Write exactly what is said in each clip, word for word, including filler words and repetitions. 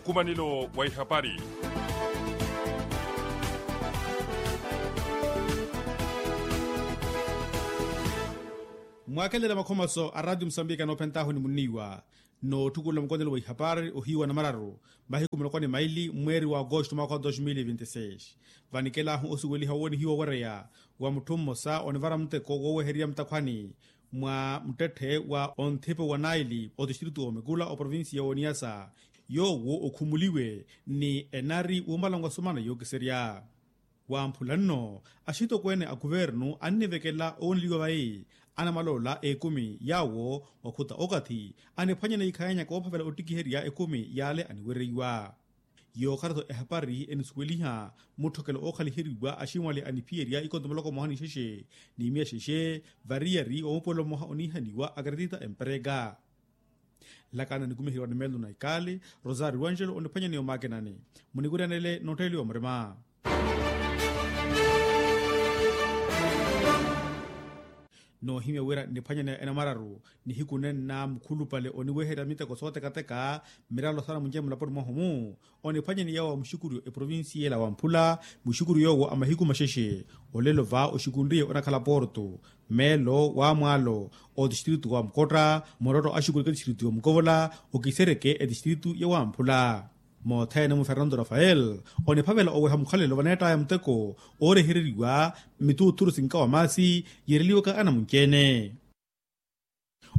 Nkumanelo wa ihapari. Mwaakelela makhomaso a ratio musambika noophentaahu ni munniiwa, nootthukulela mukonelo wa ihapari ohiiwa namararu, mahiku muloko ni maili mweeri wa agosto mwaakha wa dos mil e vinte e seis. Vanikelahu osuweliha woowoonihiwa owereya wa mutthu mmosa onivara muteko woowehererya mutakhwani mwa muttetthe wa onthipo wa naili otistritu omekula oprovincia y'oniyasa, yoowo okhumuliwe ni enari wuumalanwa sumana yookiserya. Wamphula nno axitokweene a kuvernu annivekela owooneliwa vayi anamaloola ekumi yaawo okhuta okathi aniphwanyana ikhaanyaka woophavela ottikiherya ekumi yaale aniwereiwa. Yookhala-tho ehapari enisuweliha mutthokelo ookhaliheriwa aximwali aniphiyerya ikonto muloko mmoha ni xexe ni miya xexe variyari wa mupuwelo mmoha oniihaniwa akaretita empereka. Nlakana nikumiheryiwa ni melo na ikali rosario angelo oniphwanyaniwa makinani. Muniwiryanele nootteeliwa murima. Noohimya wira nniphwanyane enamararu nihiku nenna mukhulupale oniweherya miteko sootekateka mmiralo saana munjeni mulaponi mwahu-mu. Oniphwanyane yaawo a muxukuryo eprovincia ela wamphula muxukuryo yoowo a mahiku maxexe. Olelo va oxukunriye onakhala porto meelo wa mwaalo otistritu wa mukotta murotto axukureke etistritu yomukovola okisereke etistritu ya wamphula. Moothene mu fernando rafael oniphavela oweha mukhalelo vaneettaya muteko oorehereriwa mituuthuru sinkawa maasi yeereliwaka anamunci-ene.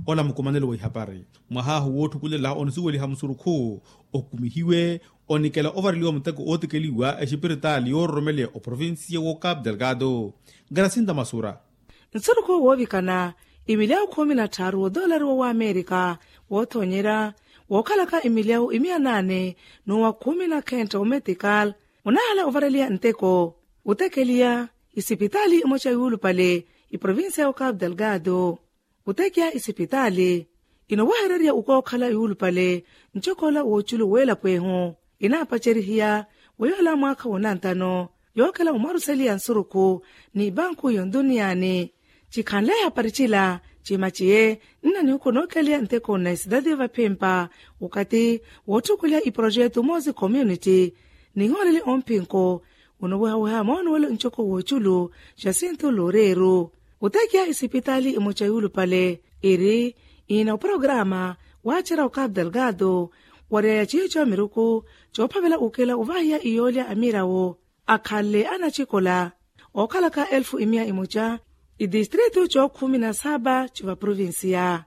Ola mukumanelo wa ihapari mwahaahu wootthukulela onisuweliha musurukhu okumihiwe onikela ovareliwa muteko ootikeliwa exipiritaali yoororomeleya oprovincia wo capu delgado. Garasinta masura. Nsurukhu woovikana imilyawu khumi na tthaaru wodoolari wo w'amerika woothonyerya wookhalaka imilyawu imiya naane n'uwa khumi na khentte ometikal onaahala ovareliha nteko otekeliya isipitaali emoca yuulupale iprovincia yo capu delgado. Otekiya isipitaali inowehererya ukookhala yuulupale ncokoola wooculu w'elapo ehu inaapacerihiya wa yoola mwaakha wonantano yookela omwaruseliya nsurukhu ni banku yonduniyaani. Cikhanle ehapari cila cimaciye nna nihuku nookeliya nteko na esidadi vaphimpa okathi wootthukuliha iprojetu moosi community nihooleli omphinko onowehaweha moonuwelo ncoko wooculu jacinto loureiro. Otekiya isipitaali emoca yuulupale iri iina oprograma waacerya okapu delgado wariyaya ciico miruku coophavela ukela ovahiya iyoolya amirawo akhanle anacikola ookhalaka elfu imiya imoca itistritu cookhumi na saba civaprovincia.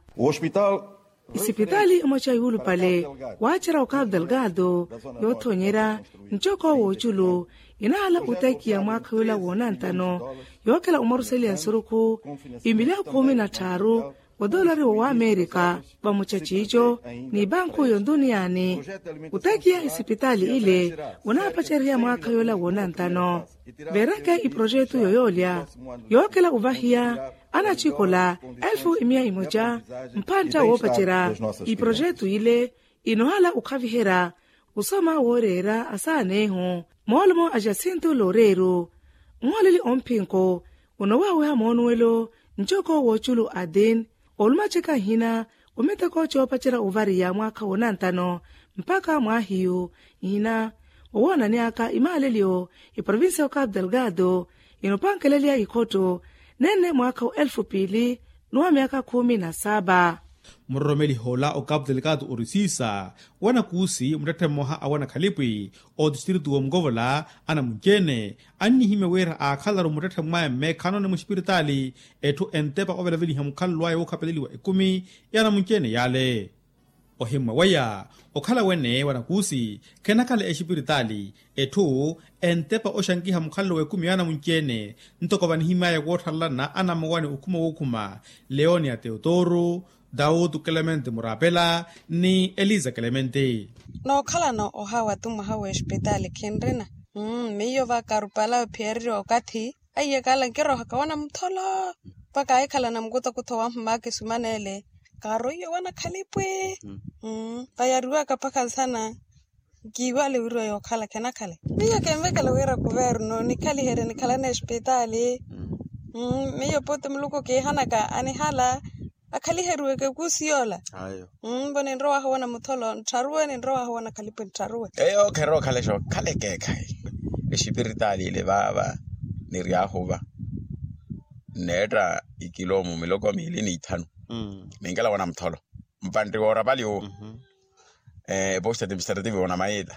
Isipitaali emoca yuulupale waacerya okapu delgado yoothonyerya ncoko wooculu inahala otekiya mwaakha yoola woonantano yookela omwaruseliya nsurukhu imilyawu khumi na tthaaru odoolari wo w'amerika vamuca ciico ni banku yonduniyaani. Otekiya isipitaali ile onaapaceriha mwaakha yoola woonantano veereke iprojetu yoyoolya yookela ovahiya anacikola elfu imiya imoca mphantta woopacerya iprojetu ile inohala okhaviherya osoma wooreera asaana ehu moolumo a jacinto loureiro. Nhooleli omphinko onowehaweha moonuwelo ncoko wooculu atin olumaceka nhina omiteko coopacerya ovariya mwaakha woonantano mpakha mwaahiyu nhina owoonaneyaka imaaleliyo eprovincia yo capu delgado inopankeleliya ikhotto nenne mwaakha wa elfu piili n'uwa myaka khumi na saba. Muroromeliha ola o capu delgado orisiisa wanakuusi muttetthe mmoha a wanakhalipwi otistritu woomukovola anamunci-ene annihimya wira aakhalaru muttetthe mwaya mmeekhanoni mwexipiritaali etthu entepa ovelaveliha mukhalelo aya wookhapeleliwa ekumi y'anamunci-ene yaale. Ohimmwa waya okhala wene wanakuusi khenakhala exipiritaali etthu entepa oxankiha mukhalelo w'ekumi y'anamunci-ene ntoko vanihimy'aya wootthalalana anamowani okhuma wookhuma leonia teotoro dautu clemente murapela ni eliza clemente. Nookhalana ohawa tu mwaha w'exipitaali khinrina. Miyo vakarupala ophiyereriwa okathi aiyekala nkirohaka wana mutholo mpakha ahikhalana mukutokutho wahumaka esumanele kaaroiye wana khalipwi. Vayariwaka mpakha nsana nkiiwale wiriwa yookhala khenakhale. Miyo kinvekela wira kuvernu nikhaliherye nikhalana exipitaali. Miyo puti muluku kiihanaka anihala Akhaliheriweke kuusi yoola. Mbo ninrowahu wona mutholo nttharuwe ninrowahu wona khalipwe nttharuwe. Eyo kherookhala exookhala ekeekhayi. Exipiritaali ile vaava niryahu va nneetta ikiloomu miloko miili n'ithanu. Ninkela wona mutholo mpantti woorapali uwo. Eposta administrative wona mayiita.